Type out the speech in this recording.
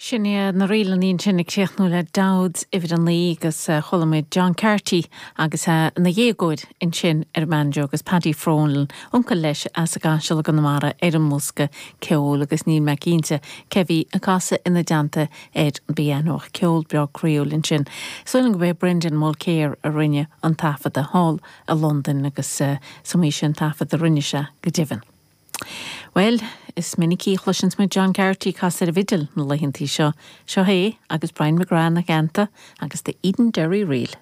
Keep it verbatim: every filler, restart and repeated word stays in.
Sin iad na ríleanna ansin ag críochnú le Dowds uimhir a naoi agus chuala muid John Carty agus ina dhéagóir ansin ar an mbanjo agus Paddy Frolan, uncail leis as an gCaiseal i gConamara ar an mbosca ceoil agus níl mé cinnte cé bhí ag casadh ina dteannta ar an bpianó ceol breá croíúil ansin. Sílim gurb é Brendan Mulkere a rinne an taifead thall i Londain agus is iomaí sin taifead a rinne sé go deimhin. Well, is minic a chloiseann muid John Carty ag casadh ar an bhfidil na laethanta seo, seo é agus Brian McGrath ina theannta agus the Edenderry Reel.